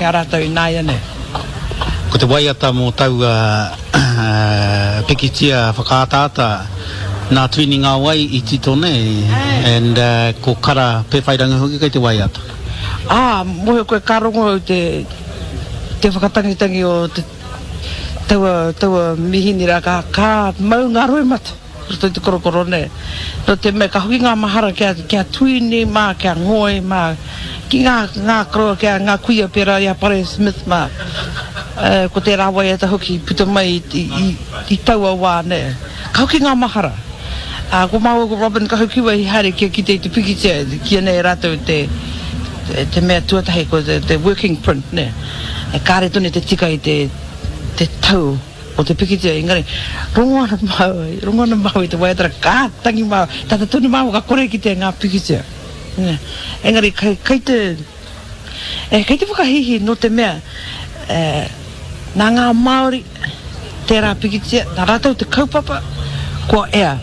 ki a rātou ināianei. Ko te waiata mō taua pikitia whakaataata nā Tuini Ngāwai i tito nei and ko Kara Pewhairangi hoki kei te waiata. Ā, mōhio koe ka rongo au te te whakatangitangi o te taua taua mihini rā ka ka mau ngā roimata. Roto i te korokoro nē. Nō te mea ka hoki ngā mahara ki a, ki a Tuini mā, ki a Ngoi mā, ki ngā, ngā koroua, ki a, ngā kuia pērā i a Pare Smith mā. E, ko tērā waiata hoki i puta mai i, i, i, i taua wā nē. Ka hoki ngā mahara. Ā, ko māua ko Robin Kahukiwa i haere kia kite i te pikitia, kīia nei e rātou te, te, te mea tuatahi ko te, te working print nē. E kāre tonu te tika i te, te tau. O te pikitia, engari, rongo ana māua, rongo ana māua i te waiata rā, ka tangi māua, tata tonu māua ka kore kitea ngā pikitia. Nē. Engari, kei, kei te, e, kei te whakahīhī nō te mea, e, nā ngā Māori tērā pikitia, nā rātou te kaupapa, kua ea.